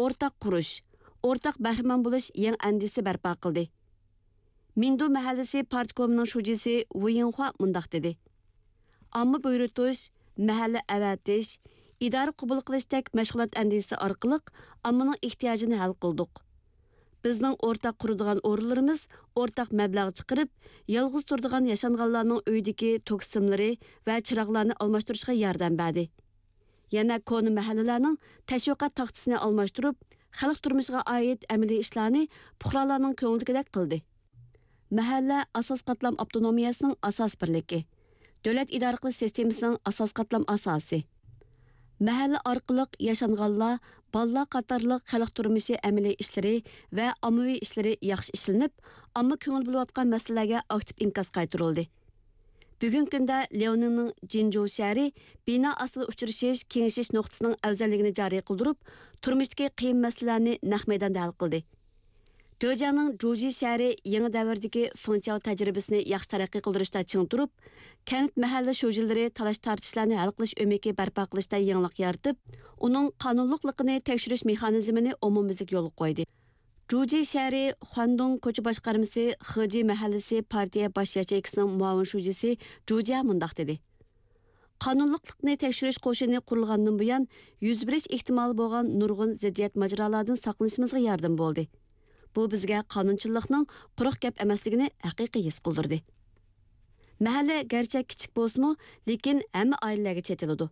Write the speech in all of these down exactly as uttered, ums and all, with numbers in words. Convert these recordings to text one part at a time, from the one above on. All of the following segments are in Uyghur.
ئورتاق قۇرۇش، ئورتاق بەھرىمەن بولۇش يېڭى ئەندىزىسى بەرپا قىلدى. مىندۇ مەھەللىسى پارتكومىنىڭ شۇجىسى ۋۇ يىڭخۇا مۇنداق دېدى: ئامما بۇيرۇتۇش، مەھەللە ئەۋەتىش، ئىدارە قوبۇل قىلىشتەك مەشغۇلات ئەندىزىسى ئارقىلىق ئاممىنىڭ ئېھتىياجىنى ھەل قىلدۇق. بىزنىڭ ئورتاق قۇرىدىغان ئورۇنلىرىمىز ئورتاق مەبلەغ چىقىرىپ، يالغۇز تۇرىدىغان ياشانغانلارنىڭ ئۆيىدىكى توك سىملىرى ۋە چىراغلارنى ئالماشتۇرۇشقا ياردەم بەردى. يەنە كونا مەھەللىلەرنىڭ تەشۋىقات تاختىسىنى ئالماشتۇرۇپ، خەلق تۇرمۇشىغا ئائىت ئەمەلىي ئىشلارنى پۇقرالارنىڭ كۆڭلىدىكىدەك قىلدى. مەھەللە ئاساسىي قاتلام ئاپتونومىيەسىنىڭ ئاساس بىرلىكى، دۆلەت ئىدارە قىلىش سىستېمىسىنىڭ ئاساسىي قاتلام ئاساسى. مەھەللە ئارقىلىق ياشانغانلار، بالىلار قاتارلىق خەلق تۇرمۇشى ئەمەلىي ئىشلىرى ۋە ئاممىۋى ئىشلىرى ياخشى ئىشلىنىپ، ئامما كۆڭۈل بۆلۈۋاتقان مەسىلىلەرگە ئاكتىپ ئىنكاس قايتۇرۇلدى. بۈگۈنكى كۈندە لياۋنىڭنىڭ جىنجۇ شەھىرى بىنا ئاستىدا ئۇچرىشىش، كېڭىشىش نۇقتىسىنىڭ ئەۋزەللىكىنى جارى قىلدۇرۇپ، تۇرمۇشتىكى قىيىن مەسىلىلەرنى نەق مەيداندا ھەل قىلدى. جېجياڭنىڭ جۇجى شەھىرى يېڭى دەۋردىكى فېڭچياۋ تەجرىبىسىنى ياخشى تەرەققىي قىلدۇرۇشتا چىڭ تۇرۇپ، كەنت مەھەللە شۇجىلىرى تالاش تارتىشلارنى ھەل قىلىش ئۆمىكى بەرپا قىلىشتا يېڭىلىق يارىتىپ، ئۇنىڭ قانۇنلۇقلۇقىنى تەكشۈرۈش مېخانىزمىنى ئومۇميۈزلۈك يولغا قويدى. جۇجى شەھىرى خۇاندۇڭ كوچا باشقارمىسى خېجى مەھەللىسى پارتىيە باش ياچېيكىسىنىڭ مۇئاۋىن شۇجىسى جۇجيا مۇنداق دېدى: قانۇنلۇقلۇقنى تەكشۈرۈش قوشۇنى قۇرۇلغاندىن بۇيان، يۈز بېرىش ئېھتىمالى بولغان نۇرغۇن زىددىيەت ماجىرالاردىن ساقلىنىشىمىزغا ياردىمى بولدى. بۇ بىزگە قانۇنچىللىقنىڭ قۇرۇق گەپ ئەمەسلىكىنى ھەقىقىي ھېس قىلدۇردى. مەھەللە گەرچە كىچىك بولسىمۇ، لېكىن ھەممە ئائىلىلەرگە چېتىلىدۇ.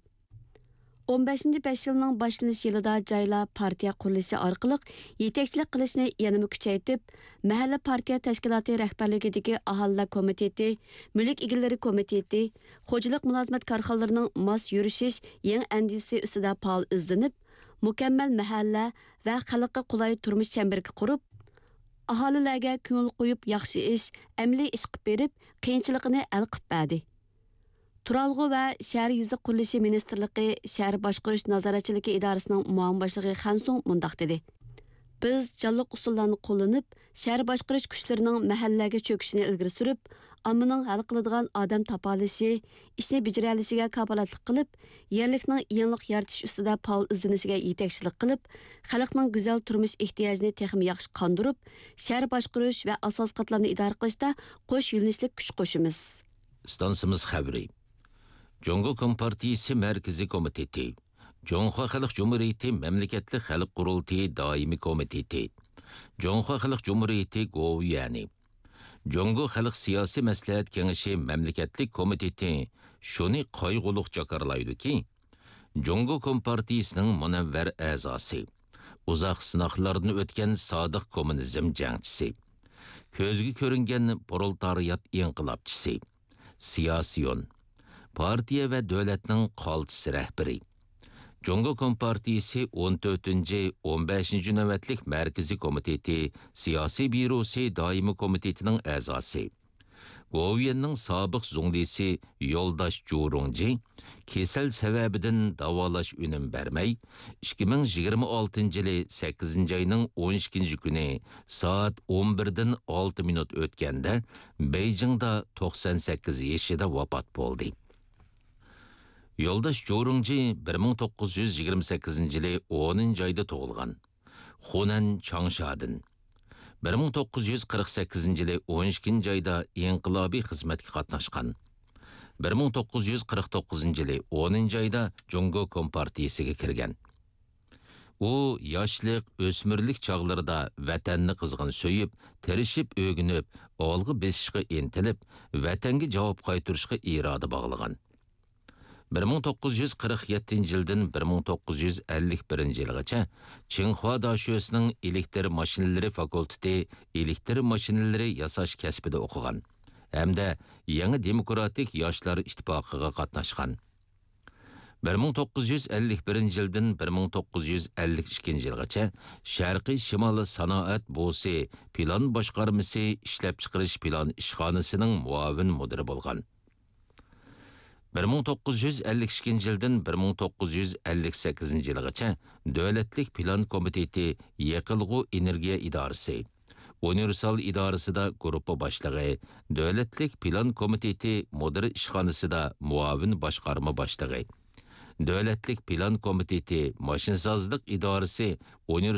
ئون بەشىنچى بەش يىلنىڭ باشلىنىش يىلىدا جايلار پارتىيە قۇرۇلۇشى ئارقىلىق يېتەكچىلىك قىلىشنى يەنىمۇ كۈچەيتىپ، مەھەللە پارتىيە تەشكىلاتى رەھبەرلىكىدىكى ئاھالىلەر كومىتېتى، مۈلۈك ئىگىلىرى كومىتېتى، خوجىلىق مۇلازىمەت كارخانىلىرىنىڭ ماس يۈرۈشۈش يېڭى ئەندىزىسى ئۈستىدە پائال ئىزدىنىپ، مۇكەممەل مەھەللە ۋە خەلققە قولاي تۇرمۇش چەمبىرىكى قۇرۇپ، ئاھالىلەرگە كۆڭۈل قويۇپ ياخشى ئىش، ئەمەلىي ئىش قىلىپ بېرىپ، قىيىنچىلىقىنى ھەل قىلىپ بەردى. تۇرالغۇ ۋە شەھەر يېزا قۇرۇلۇشى مىنىستىرلىقى شەھەر باشقۇرۇش نازارەتچىلىكى ئىدارىسىنىڭ مۇئاۋىن باشلىقى خەن سۇڭ مۇنداق دېدى: بىز جانلىق ئۇسۇللارنى قوللىنىپ، شەھەر باشقۇرۇش كۈچلىرىنىڭ مەھەللىلەرگە چۆكۈشىنى ئىلگىرى سۈرۈپ، ئاممىنىڭ ھەل قىلىدىغان ئادەم تاپالىشى، ئىشنى بېجىرەلىشىگە كاپالەتلىك قىلىپ، يەرلىكنىڭ يېڭىلىق يارىتىش ئۈستىدە پائال ئىزدىنىشىگە يېتەكچىلىك قىلىپ، خەلقنىڭ گۈزەل تۇرمۇش ئېھتىياجىنى تېخىمۇ ياخشى قاندۇرۇپ، شەھەر باشقۇرۇش ۋە ئاساسىي قاتلامنى ئىدارە قىلىشتا قوش يۆنىلىشلىك كۈچ قوشىمىز. ئىستانسىمىز خەۋىرى. جۇڭگو كومپارتىيىسى مەركىزىي كومىتېتى، جۇڭخۇا خەلق جۇمھۇرىيىتى مەملىكەتلىك خەلق قۇرۇلتىيى دائىمىي كومىتېتى، جۇڭخۇا خەلق جۇمھۇرىيىتى گوۋۇيۈەنى، جۇڭگو خەلق سىياسىي مەسلىھەت كېڭىشى مەملىكەتلىك كومىتېتى شۇنى قايغۇلۇق جاكارلايدۇكى، جۇڭگو كومپارتىيىسىنىڭ مۇنەۋۋەر ئەزاسى، ئۇزاق سىناقلاردىن ئۆتكەن سادىق كوممۇنىزم جەڭچىسى، كۆزگە كۆرۈنگەن پرولېتارىيات ئىنقىلابچىسى، سىياسىيون، پارتىيە ۋە دۆلەتنىڭ قالتىس رەھبىرى، جۇڭگو كومپارتىيىسى ئون تۆتىنچى، ئون بەشىنچى نۆۋەتلىك مەركىزىي كومىتېتى سىياسىي بيۇروسى دائىمىي كومىتېتىنىڭ ئەزاسى، گوۋۇيۈەننىڭ سابىق زۇڭلىسى يولداش جۇرۇڭجى كېسەل سەۋەبىدىن داۋالاش ئۈنۈم بەرمەي، ئىككى مىڭ يىگىرمە ئالتىنچى يىلى سەككىزىنچى ئاينىڭ ئون ئىككىنچى كۈنى سائەت ئون بىردىن ئالتە مىنۇت ئۆتكەندە بېيجىڭدا توقسان سەككىز يېشىدا ۋاپات بولدى. يولداش جۇرۇڭجى بىر مىڭ توققۇز يۈز يىگىرمە سەككىزىنچى يىلى ئونىنچى ئايدا تۇغۇلغان. خۇنەن چاڭشادىن. بىر مىڭ توققۇز يۈز قىرىق سەككىزىنچى يىلى ئون ئىككىنچى ئايدا ئىنقىلابىي خىزمەتكە قاتناشقان. بىر مىڭ توققۇز يۈز قىرىق توققۇزىنچى يىلى ئونىنچى ئايدا جۇڭگو كومپارتىيىسىگە كىرگەن. ئۇ ياشلىق، ئۆسمۈرلۈك چاغلىرىدا ۋەتەننى قىزغىن سۆيۈپ، تىرىشىپ ئۆگىنىپ، ئالغا بېسىشقا ئىنتىلىپ، ۋەتەنگە جاۋاب قايتۇرۇشقا ئىرادە باغلىغان. بىر مىڭ توققۇز يۈز قىرىق يەتتىنچى يىلدىن بىر مىڭ توققۇز يۈز ئەللىك بىرىنچى يىلغىچە چىڭخۇا داشۆسىنىڭ ئېلېكتر ماشىنىلىرى فاكۇلتېتى ئېلېكتر ماشىنىلىرى ياساش كەسپىدە ئوقۇغان ھەمدە يېڭى دېموكراتىك ياشلار ئىتتىپاقىغا قاتناشقان. بىر مىڭ توققۇز يۈز ئەللىك بىرىنچى يىلدىن بىر مىڭ توققۇز يۈز ئەللىك ئىككىنچى يىلغىچە شەرقىي شىمال سانائەت بوسى پىلان باشقارمىسى ئىشلەپچىقىرىش پىلان ئىشخانىسىنىڭ مۇئاۋىن مۇدىرى بولغان. بىر مىڭ توققۇز يۈز ئەللىك ئىككىنچى يىلدىن بىر مىڭ توققۇز يۈز ئەللىك سەككىزىنچى يىلغىچە دۆلەتلىك پىلان كومىتېتى يېقىلغۇ ئېنېرگىيە ئىدارىسى، ئۇنىۋېرسال ئىدارىسىدا گۇرۇپپا باشلىقى، دۆلەتلىك پىلان كومىتېتى مۇدىر ئىشخانىسىدا مۇئاۋىن باشقارما باشلىقى، دۆلەتلىك پىلان كومىتېتى ماشىنىسازلىق ئىدارىسى ئۇنىۋېرسال